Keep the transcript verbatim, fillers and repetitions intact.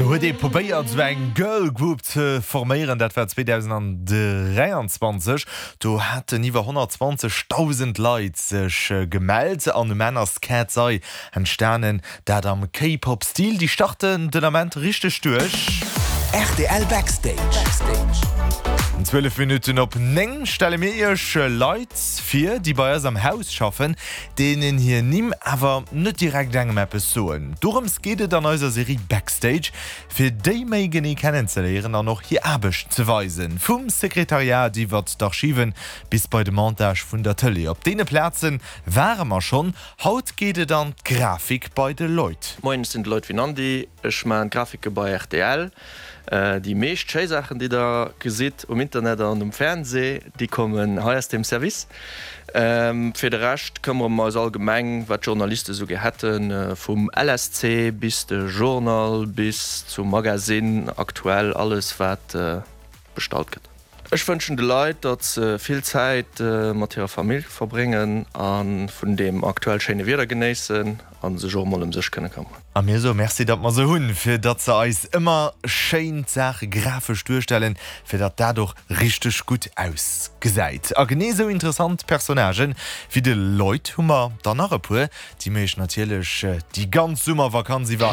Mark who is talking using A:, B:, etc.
A: Do huet ee probéiert sou eng Girl Group ze forméieren, dat war zweedausenddräianzwanzeg. Do haten iwwer honnertzwanzegdausend Leit sech gemellt an um Enn ass Katseye entstanen, dat am K-Pop-Stil. Déi starten den Ament richteg duerch.
B: R T L Backstage.
A: Zwielef Minutten op néng stelle mir iech Leit vir, déi bei eis am Haus schaffen, deenen hir Nimm awer net direkt engem eppes soen. Dorëms geet et an eiser Serie Backstage, fir déi méi genee kennenzeléieren an och hir Aarbecht ze weisen. Vum Sekretariat iwwer d'Archiven bis bei de Montage vun der Tëlee. Op deene Plaze ware mer schonn. Haut geet et an d'Grafik bei de Lloyd.
C: Moien, ech sinn de Lloyd Vinandy, ech maachen d'Grafike bei R T L. Déi meescht schéi Saachen, déi der gesitt um Internet an um Fernsee, déi kommen hei aus deem Service. Fir de Rescht këmmere mer eis allgemeng, wat d'Journaliste sou gär hätten, vum L S C bis de Journal bis zum Magasinn, aktuell, alles wat bestallt gëtt. Ech wënschen de Leit, datt se vill Zäit mat hirer Famill verbréngen a vun deem aktuell schéine Wieder genéissen a sech och emol ëm sech kënne këmmeren.
A: A mir soe Merci, datt mer se hunn, fir datt se eis ëmmer schéin d'Saache grafesch duerstellen, fir datt dat och richteg gutt ausgesäit. A genee esou interessant Personnagen wéi de Lloyd hu mer der nach e puer, déi mir iech natierlech déi ganz Summervakanz iwwer